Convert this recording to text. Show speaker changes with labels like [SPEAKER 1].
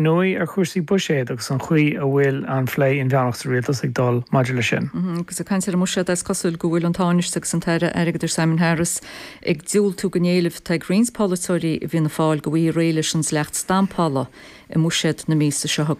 [SPEAKER 1] Ndóigh, ar chúrsaí buiséid agus an chaoi a bhfuil an phlé inmheánach sa rialtas ag dul maidir leis sin.
[SPEAKER 2] Agus ag caint ar an mbuiséad, is cosúil go bhfuil an Tánaiste agus an tAire Airgeadais Simon Harris ag diúltú don éileamh atá ag roinnt polaiteoirí i bhFianna Fáil go bhfaighfí réidh leis an dleacht stampála i mbuiséad na míosa seo chugainn.